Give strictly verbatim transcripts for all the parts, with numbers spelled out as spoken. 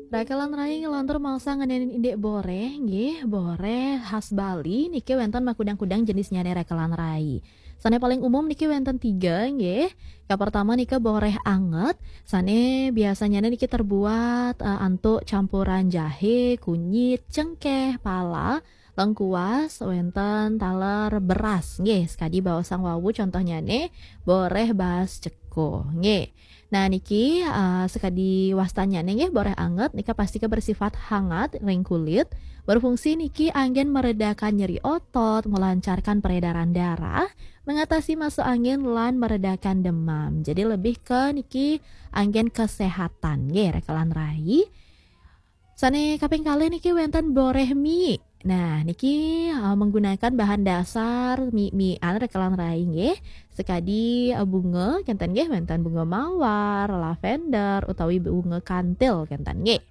Rekelan rai, ngelantur malih ngenénin indik boréh, nggih, boréh khas Bali niki wénten makudang-kudang jenisnyané rekelan rai. Sané paling umum niki wénten tiga, nggih. Kapertama nika boréh anget, sané biasanyané niki terbuat, eh, antuk campuran jahé, kunyit, cengkéh, pala, lengkuas, wénten taler beras, nggih. Sakadi baosang wau contohnyané boréh baas ceko, nggih. Nah, niki, eh, sakadi wastanyané, nggih, boréh anget nika pastika bersifat hangat ring kulit. Berfungsi niki anggén meredakan nyeri otot, melancarkan peredaran darah, mengatasi masuk angin, lan meredakan demam. Jadi lebih ke niki anggén kesehatan, nggih, rekelan rai. Sané kaping kalih niki wénten boréh mie. Nah, niki, eh, menggunakan bahan dasar mie-miean rekelan rai, nggih. Sakadi, eh, bunga, kénten nggih, wénten bunga mawar, lavender, utawi bunga kantil, kénten nggih.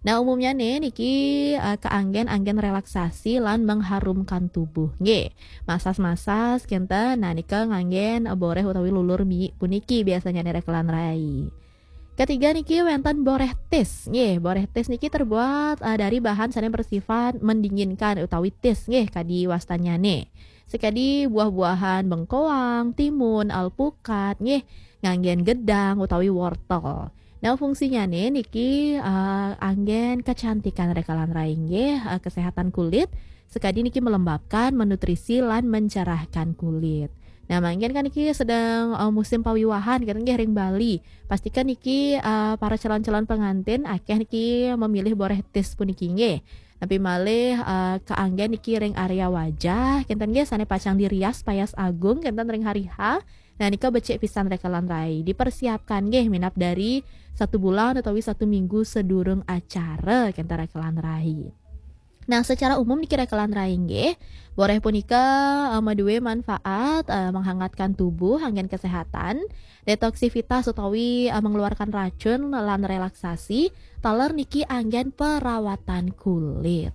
Nah, umumnyané niki, eh, kaanggén anggén relaksasi lan mengharumkan tubuh, nggih. Masas-masas, kénten. Nah, nika nganggén, eh, boréh utawi lulur mie puniki biasanyané rekelan rai. Ketiga niki wénten boréh tis. Nggih, boréh tis niki terbuat, eh, dari bahan sané bersifat mendinginkan utawi tis, nggih, kadi wastanyané. Sakadi buah-buahan bengkoang, timun, alpukat, nggih, nganggén gedang utawi wortel. Nah, fungsinyané niki, eh, anggén kecantikan rekelan rai, nggih, eh, kesehatan kulit, sakadi niki melembabkan, menutrisi, lan mencerahkan kulit. Nah, mangkin kan niki sedang, eh, musim pawiwahan, kénten nggih, ring Bali. Pastika niki, eh, para calon-calon pengantin akéh niki memilih boréh tis puniki, nggih. Napi malih, eh, kaanggén niki ring area wajah, kénten nggih, sané pacang dirias payas agung, kénten ring hari H. Nah, nika becik pisan rekelan rai. Dipersiapkan nggih minab dari satu bulan utawi satu minggu sedurung acara, kénten rekelan rai. Nah, secara umum niki rekelan rai nggih, boréh punika, eh, madué manfaat, eh, menghangatkan tubuh, anggén kesehatan, detoksivitas utawi, eh, mengeluarkan racun lan relaksasi, taler niki anggén perawatan kulit.